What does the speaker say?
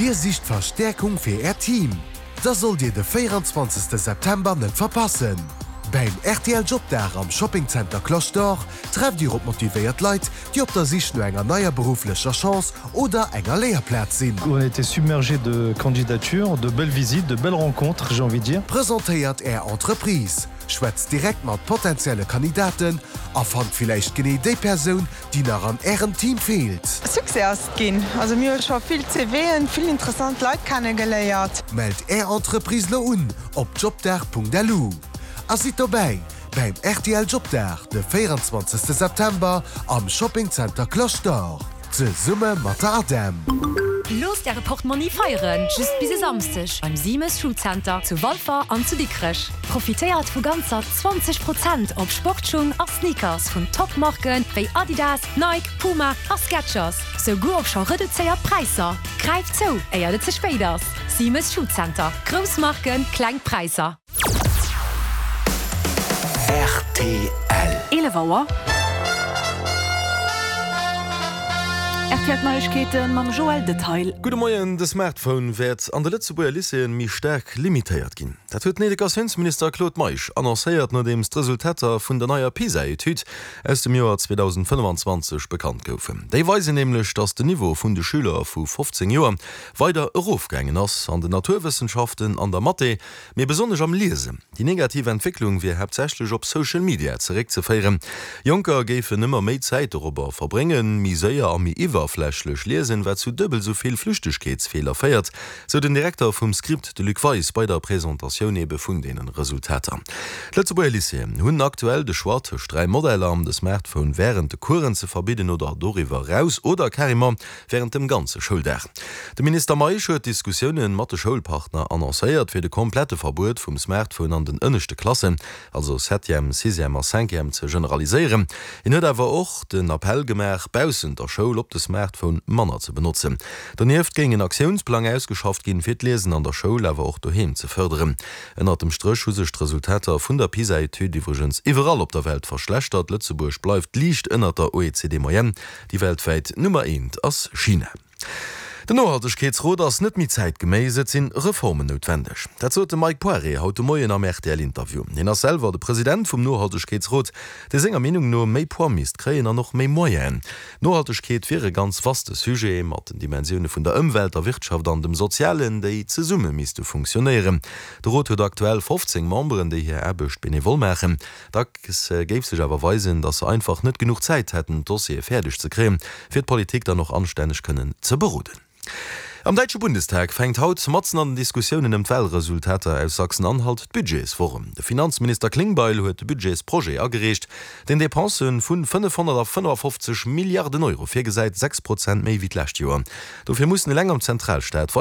Dir sicht Verstäerkung fir Äert Team? Da sollt Dir de 24 September net verpassen! Beim rtl Jobdag am Shoppingzenter Cloche d'Or trefft Dir op motivéiert Leit, déi op der Sich no enger neier berufflecher Chance oder enger Léierplaz sinn. On a été submergé de candidatures, de belles visites, de belles rencontres, j'ai envie de dire. Presentéiert Är Entreprise, schwätzt direkt mat potenzielle Kandidaten a fannt villäicht genee déi Persoun, déi nach an Ärem Team feelt. Succès ass et ginn. Also mir hu scho vill CVen, vill interessant Leit kennegeléiert. Mellt Är Entreprise lo un op jobdag.lu a sidd dobäi bäim rtl Jobdag de 24 September am Shopping Center Cloche d'Or zesumme mat der ADEM. Loosst Äre Portmonni feieren, just bis e Samsdeg beim Simes Food Center zu Walfer an zu Dikrech. Profitéiert vu ganzer 20 Prozent op Sportschung a Sneakers vun Top-Marken wéi Adidas, Nike, Puma a Skechers, souguer op scho reduzéiert Präisser. Gräift zou, éiert et ze spéit ass! Simes Food Center, grouss Marken, kleng Präisser. Rtl. 11 Auer. Rtl D'Neiegkeete mam Joël Detail. Gudde Moien, De Smartphone wäert an de Lëtzebuerger Lycéeën méi staark limitéiert ginn. Dat huet den Educatiounsminister Claude Meisch annoncéiert, nodeems d'Resultater vun der neier PISA-Etüd aus dem Joer 2025 bekannt goufen. Déi weisen nämlech, datt den Niveau vun de Schüler vu 15 Joer weider erofgaangen ass an den Naturwëssenschaften, an der Mathé, mee besonnesch am Liesen. Déi negativ Entwécklung wier haaptsächlech op Social Media zeréckzeféieren. Jonker géifen ëmmer méi Zäit dorobber verbréngen, méi séier a méi iwwerflächlech liesen, wat zu duebel esou vill Flüchtegkeetsfeeler féiert, sou den Direkter vum Script, de Luc Weis, bei der Presentatioun ebe vun deenen Resultater. D'Lëtzebuerger Lycéeën hunn aktuell de Choix tëscht 3 Modeller, de Smartphone wärend de Coursen ze verbidden oder doriwwer eraus oder carrément wärend dem ganze Schouldag. De Minister Meisch huet Diskussiounen mat de Schoulpartner annoncéiert, fir de komplette Verbuet vum Smartphone an den ënneschte Klassen, also Septième, Sixième a Cinquième, ze generaliséieren. Hien huet awer och den Appell gemaach, baussent der Schoul op de Smartphone manner ze benotzen. Donieft géing en Aktiounsplang ausgeschafft ginn, fir d'Liesen an der Schoul, awer och doheem ze fërderen. Ënnert dem Stréch hu sech d'Resultater vun der PISA-Etüd iwwregens iwwerall op der Welt verschlechtert. Lëtzebuerg bleift liicht ënnert der OECD-Moyenne. Déi weltwäit Nummer eent ass China. Den Nohaltegkeetsrot ass net méi zäitgeméiss, et sinn Reformen noutwendeg. Dat sot de Mike Poiré haut de Moien am RTL-Interview. Hien ass selwer de President vum Nohaltegkeetsrot, dee senger Meenung no méi Poids misst kréien an och méi Moyenen. Nohaltegkeet wier e ganz vaste Sujet, mat den Dimensioune vun der Ëmwelt, der Wirtschaft an dem Sozialen, déi zesumme misste funktionéieren. De Rot huet aktuell 15 Memberen, déi hir Aarbecht benevol maachen. Dacks géif sech awer weisen, datt se einfach net genuch Zäit hätten, d'Dossiere fäerdeg ze kréien, fir d'Politik dann och anstänneg kënnen ze beroden. Am däitsche Bundestag fänkt haut, matzen an den Diskussiounen ëm d'Wahlresultater aus Sachsen-Anhalt, d'Budgetswoch un. De Finanzminister Klingbeil huet de Budgetsprojet agereecht, deen Depensë vu 555 Milliarden Euro virgesäit, 6 Prozent méi wéi d'lescht Joer. Dofir mussen eleng am Zentralstaat weider.